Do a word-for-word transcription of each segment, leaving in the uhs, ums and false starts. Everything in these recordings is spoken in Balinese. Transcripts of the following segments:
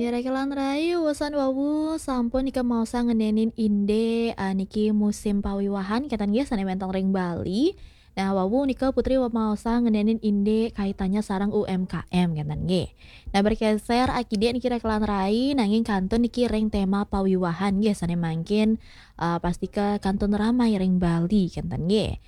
Raka lan rai, usan wau sampun nika maosa ngenenin indik, ah, niki musim pawiwahan, kenten nggih, sane wenten ring Bali. Nah, wau nika Putri maosa ngenenin indik kaitannya sareng U M K M, kenten nggih. Nah, bergeser akidik niki raka lan rai, nanging kantun niki ring tema pawiwahan nggih, sane mangkin, ah, pastika kantun ramai ring Bali, kenten nggih.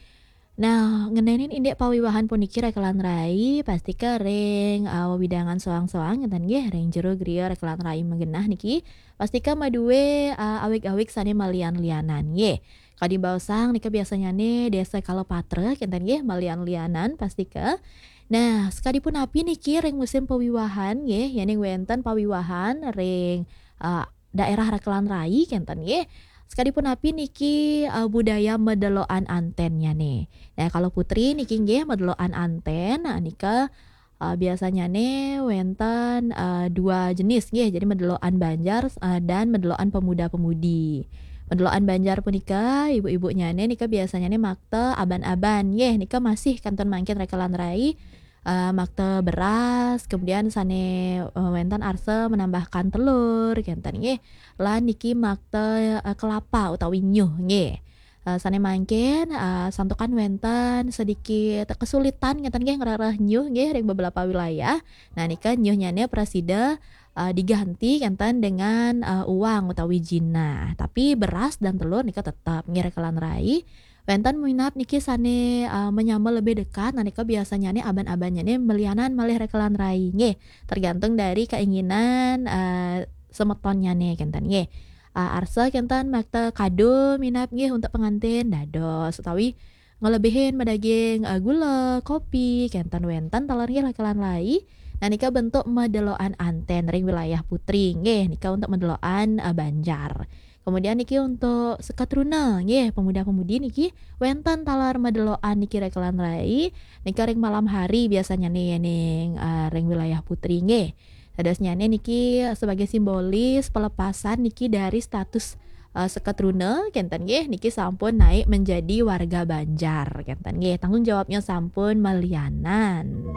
Nah, ngenenin indik pawiwahan puniki raka lan rai, pastika ring, ah, wewidangan soang-soang, kenten nggih, ring jero griya raka lan rai magenah niki, pastika madue, ah, awig-awig sane malian-lianan nggih. Kadi baosang nika biasanyane Desa Kalapatra, kenten nggih, malian-lianan pastika. Nah, sakadi punapi niki ring musim pawiwahan nggih, yening wenten pawiwahan ring, ah, daerah raka lan rai, kenten nggih. Sakadi punapi niki, ah, budaya medeloan antennyane. Nah, kalau Putri niki nggih medeloan anten, nah, nika, ah, biasanyane wenten, ah, dua jenis nggih. Jadi medeloan Banjar, ah, dan medeloan pemuda-pemudi. Medeloan Banjar punika ibu-ibunyane nika biasanyane makta aban-aban nggih. Nika masih kantun mangkin raka lan rai, eh, makta beras, kemudian sane, eh, wenten arsa menambahkan telur, kenten nggih. Lan niki makta, eh, kelapa utawi nyuh nggih. Eh, sane mangkin, eh, santukan wenten sedikit kesulitan, kenten nggih, ngrereh nyuh nggih ring beberapa wilayah. Nah, nika nyuhnyane prasida, eh, diganti kenten dengan, eh, uang utawi jinah. Tapi beras dan telur nika tetep nggih raka lan rai. Wenten minab niki sane, eh, menyambel lebih dekat, nah, nika biasanyane aban-abannyane malianan malih raka lan rai nggih. Tergantung dari keinginan, eh, semetonnyane kenten nggih. Eh, arsa kenten makta kado minab nggih untuk pengantin dados utawi ngelebihin madaging, eh, gula, kopi, kenten wenten taler nggih raka lan rai. Nah, nika bentuk medeloan anten ring wilayah Putri nggih, nika untuk medeloan, eh, Banjar. Kemudian niki untuk seketruna nggih, pemuda-pemudi niki wenten taler medeloan niki raka lan rai, nika ring malam hari biasanyane yening, eh, ring wilayah Putri nggih. Dadosnyane niki sebagai simbolis pelepasan niki dari status, eh, seketruna, kenten nggih, niki sampun naik menjadi warga Banjar, kenten nggih. Tanggung jawabnya sampun malianan.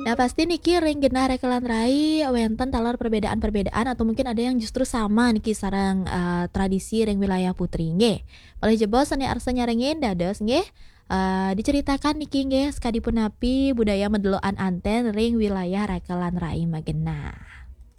Nah, pasti niki ring genah raka lan rai wenten taler perbedaan-perbedaan atau mungkin ada yang justru sama niki sareng, eh, tradisi ring wilayah Putri nggih. Malih jebos sane arsa nyarengin dados nggih, eh, diceritakan niki nggih sakadi punapi budaya medeloan anten ring wilayah raka lan rai magenah.